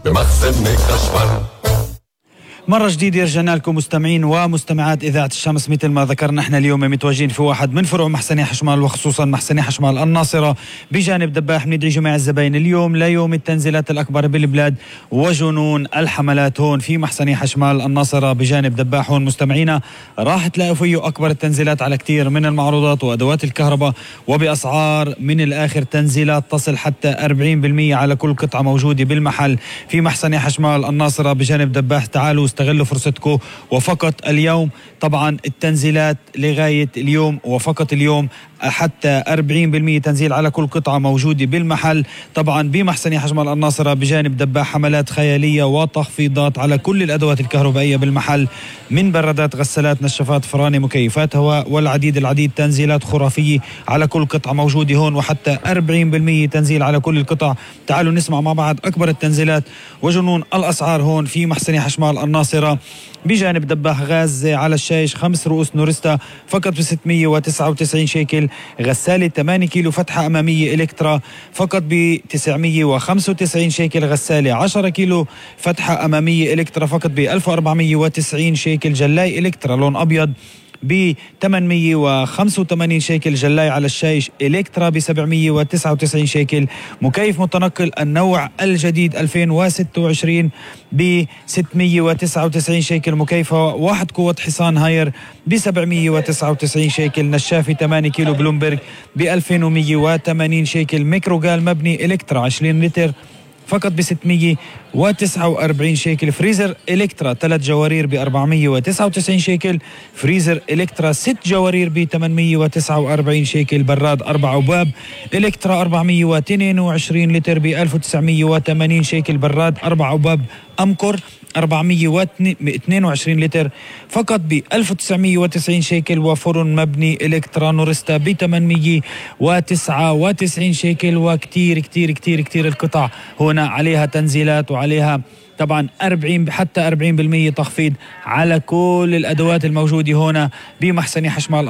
بمخزن كشمر. مرة جديدة رجعنا لكم مستمعين ومستمعات إذاعة الشمس. مثل ما ذكرنا احنا اليوم متواجدين في واحد من فروع محسني حشمال، وخصوصا محسني حشمال الناصرة بجانب دباح. بندعي جميع الزباين اليوم ليوم التنزيلات الأكبر بالبلاد وجنون الحملات هون في محسني حشمال الناصرة بجانب دباح. هون مستمعينا راح تلاقوا فيه أكبر التنزيلات على كتير من المعروضات وأدوات الكهرباء، وبأسعار من الآخر تنزيلات تصل حتى 40% على كل قطعة موجودة بالمحل في محسني حشمال الناصرة بجانب دباح. تعالوا استغلوا فرصتكم، وفقط اليوم طبعا التنزيلات لغاية اليوم، وفقط اليوم حتى 40% تنزيل على كل قطعة موجودة بالمحل طبعا بمحسني حشمال الناصرة بجانب دباح. حملات خيالية وتخفيضات على كل الأدوات الكهربائية بالمحل، من برادات، غسالات، نشافات، فرانة، مكيفات هواء والعديد تنزيلات خرافية على كل قطعة موجودة هون، وحتى 40% تنزيل على كل القطع. تعالوا نسمع مع بعض أكبر التنزيلات وجنون الأسعار هون في محسني حشمال الناصرة بجانب دباح. غاز على الشايش 5 رؤوس نورستا فقط ب 699 شيكل. غسالة 8 كيلو فتحة أمامية إلكترا فقط ب 995 شيكل. غسالة 10 كيلو فتحة أمامية إلكترا فقط ب 1490 شيكل. جلاي إلكترا لون أبيض ب 885 شيكل. جلاي على الشايش إلكترا ب 799 شيكل. مكيف متنقل النوع الجديد 2026 ب 699 شيكل. مكيف 1 قوة حصان هاير ب 799 شيكل. نشافي 8 كيلو بلومبرغ ب 2180 شيكل. ميكروغال مبني إلكترا 20 لتر فقط ب 649 شيكل. فريزر إلكترا 3 جوارير ب 499 شيكل. فريزر إلكترا 6 جوارير ب 849 شيكل. براد 4 أبواب إلكترا 422 لتر ب 1980 شيكل. براد 4 أبواب أمكور 422 لتر فقط ب 1990 شيكل. وفرن مبني إلكترا نورستا ب 899 شيكل. وكتير كتير كتير كتير القطع هنا عليها تنزيلات، وعليها طبعا 40 حتى 40% تخفيض على كل الأدوات الموجودة هنا بمحسني حشمال